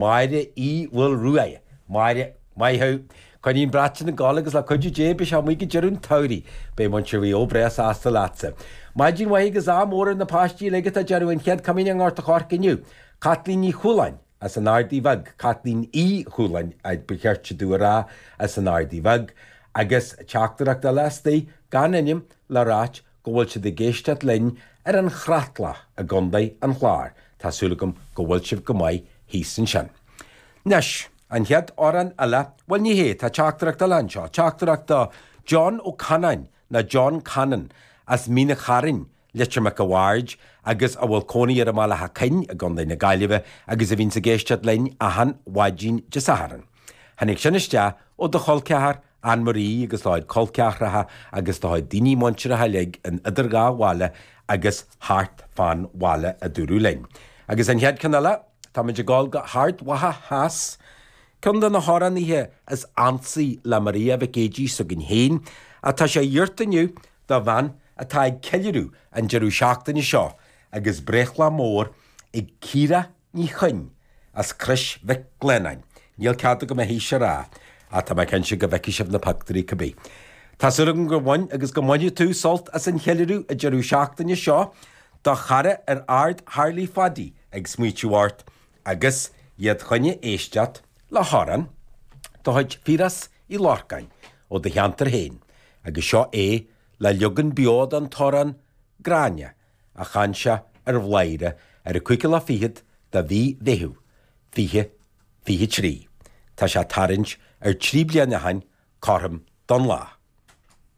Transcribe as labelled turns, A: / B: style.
A: Máire Uí Mhaoilruaidh. Máire, Maith thú. Coinnigh an brat sin ag gabháil agus le cuidiú Dé beidh sé amuigh go deireadh an tsamhraidh. Beidh muintir Mhaigh Eo breá sásta leatsa. Maidin mhaith agus ádh mór ar na páistí uilig atá ag déanamh an Chéad Chomaoineach i nGort a' Choirce inniu. Caitlín Ní Chualáin as an Ardaidh Bheag, Caitlín Uí Chualáin ba cheart domh a rá, as an Ardaidh Bheag. Agus teachtaireacht eile istigh, gan ainm, le ráit go bhfuil siad ag éisteacht linn ar an Chreatlach i gContae an Chláir. Tá súil agam go bhfuil sibh go maith thíos ansin. Anois, an chéad amhrán eile, bhuel ní hé, tá teachtaireacht eile anseo, teachtaireacht do John Ó Canáin, nó John Cannon, as Mín an Chairn, Leitir Mhic a' Bhaird, agus a bhfuil cónaí air i mBaile Átha Coinn i gContae na Gaillimhe agus a bhíonns ag éisteacht linn achan mhaidin Dé Sathairn. Tháinig sin isteach ó do chol ceathar, Ann Marie agus do chuid col ceathracha agus do chuid daoine muinteartha uilig in idir dhá bhaile agus thart fán bhaile a dúradh linn. Agus an chéad cheann eile, táimid ag dul go hArd Mhacha Theas, ceann de na hamhránaithe is ansaí le Maria Mhic Géidigh s'againn féin, atá sé iarrta inniu do bhean atá ag ceiliúradh an deireadh seachtaine seo agus breithlá mór ag Ciara Ní Chuinn, as Crois Mhic Lionnáin. Níl cead agam a haois a rá, ach tá mé cinnte go bhfeicfidh sibh na pictiúirí cibé. Tá súil agam gur bhain agus go mbainfidh tú sult as an cheiliúradh an deireadh seachtaine seo, do chara ar Ard Tharlaigh Phaidí ag smaoitiú ort agus iad choinne éisteacht le hamhrán de chuid Phiarais Uí Lorcáin ó do cheantar féin agus seo é le leagan beo den t-amhrán Gráinne a chan sé ar Bhladhaire ar an cúigiú lá fichead de mhí Mheithimh, 2023. Tá sé ag tarraingt ar thrí bliana ó shin, cothrom don lá.